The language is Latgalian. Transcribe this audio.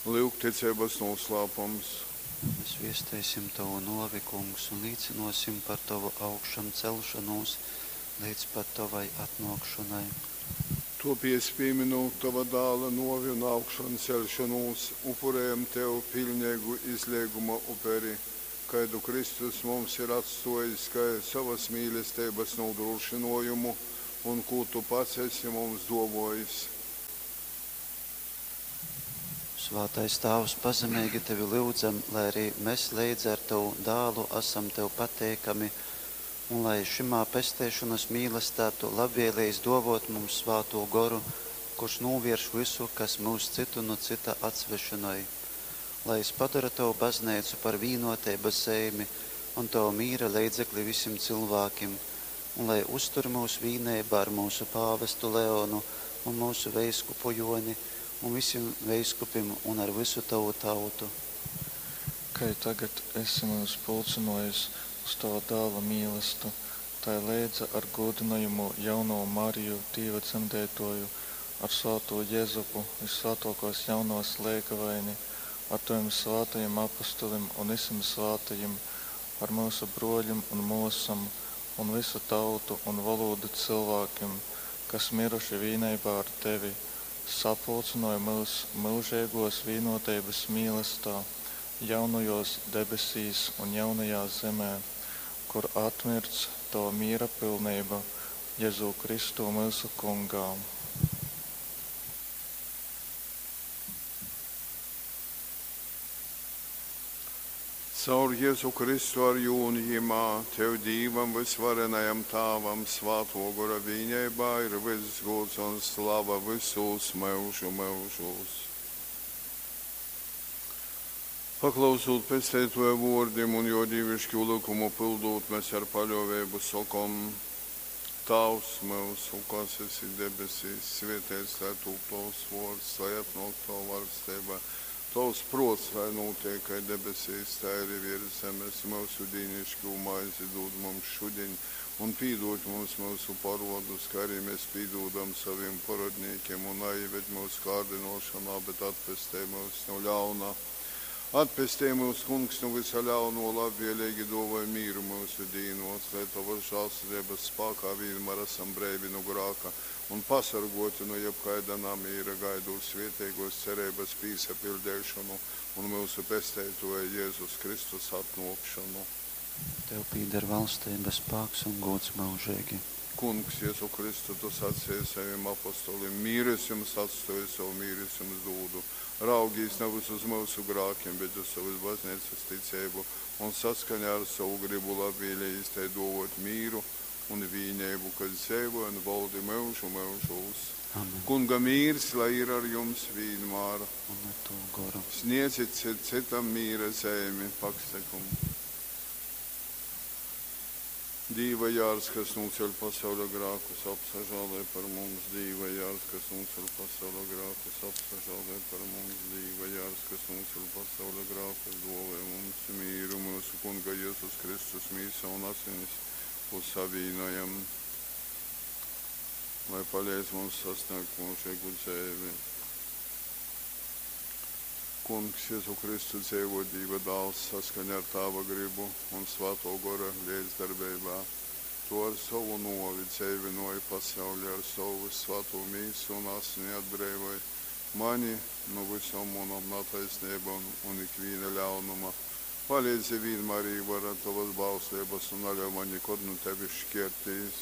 Lyugticeibas nūslāpums. Mes viesteisim Tovu nōvi, Kungs, un līcynōsim par Tovu augšamceļšonūs leidz pat Tovai atnōkšonai. Tōpēc, pīmynūt Tova Dāla nōvi un augšanceļšonūs, upurejam Tev piļneigu izleiguma uperi, kaidu Kristus mums ir atstōjis kai sovas mīlesteibas nūdrūšynōjumu un kū Tu pats esi mums dōvōjis. Svātais Tāvs, pazemeigi Tevi lyudzam, lai arī mes leidza ar Tovu Dālu asam Tev pateikami un lai šymā pesteišonas mīlestā Tu labvēlējis dōvōt mums Svātū Goru, kurš nūvierš vysu, kas myus cytu nu cyta atsvešynoj. Lai jys padora Tovu Bazneicu par vīnōteibas zeimi un Tova mīra leidzekli visim cylvākim, un lai uztur myus vīneibā ar myusu pāvestu Leonu un myusu veiskupu Jōni un visim veiskupim un ar vysu Tovu tautu. Kai tagad esi myus pulcynōjis uz Tova Dāla mīlastu, tai leidza ar gūdynojamū Jaunovu Mariju, Dīva Dzemdeitōju, ar svātū Jezupu, vyssvātōkōs Jaunovas leigavaini, ar Tovim svātajim apostolim un visim svātajim, ar myusu brōļim un mōsom un vysu tautu un volūdu cylvākim, kas myruši vīneibā ar Tevi, sapulcynoj myus myužeigōs vīnōteibas mīlastā, jaunajōs debesīs un jaunajā zemē, kur atmirdz Tova mīra pilneiba, Jezū Kristū myusu Kungā. Caur Jezu Kristu ar jū un jymā, Tev, Dīvam vysvarenajam Tāvam, Svātō Gora vīneibā ir vyss gūds un slava vysūs myužu myužūs. Paklausūt Pesteitōja vōrdim un jō dīviškū lykumu pyldūt, mes ar paļōveibu sokom, Tāvs myusu, kas esi debesīs, svēteits lai tūp tovs vōrds, lai atnōk tova vaļsteiba. Tovs prōts lai nūteik kai debesīs, tai arī viers zemes. Myusu dīniškū maizi dūd mums šudiņ, un pīdūd mums myusu porodus, kā arī mēs pīdūdam savim porodnīkim, un naieved mūsu kārdinošanā, bet atpestej mūs no ļauna. Atpestej mūs, Kungs, no visa ļauno, labvēlīgi dāvāj mīru mūsu dīnos, lai Tavas žēlsirdības spākā vienmēr esam breivi no grāka un pasargoti no jebkaida namīra, gaidot svētīgos cerības pīsapildīšanu un mūsu pesteitoja Jēzus Kristus atnākšanu. Tev pīder valstība, spāks un gods mūžīgi. Kungs, Jēzu Kristu, tu sacīji saviem apostolim, mīru es jums atstoju, savu mīru es jums dūdu. Raugīs nevis uz mūsu grākiem, bet uz savas baznīcas ticību un saskaņā ar savu gribu labvēlījis tai dovot mīru un vīneibu, kas dzīvo un valdi mūžu mūžos. Amen. Kunga mīrs, lai ir ar jums vienmēr. Un ar Tavu goru. Sniedzit citam mīra zeimi, paksekumu. Dīva jārs, kas nūceļ pasaules grākus, apsažālē par mums. Dīva jārs, kas nūceļ pasaules grākus, apsažālē par mums. Dīva jārs, kas nūceļ pasaules grākus, dovē mums mīru, mūsu Kunga Jēzus Kristus mīsa un asinis, ko savīnojam, lai palīdz mums sasniegt mūžīgu dzīvi. Kungs, Jēzu Kristu dzīvo Dieva dāls saskaņā ar Tāva gribu un Svēto Gora līdzdarbeībā. Tu ar savu novi dzīvinoji pasauli, ar savu svēto mīsu un asini atbrīvoji mani no visām manām netaisnībām un ikviena ļaunuma. Palīdzi vienmēr īvarot tavas bauslības un neļauj man nekad no tevis šķirties.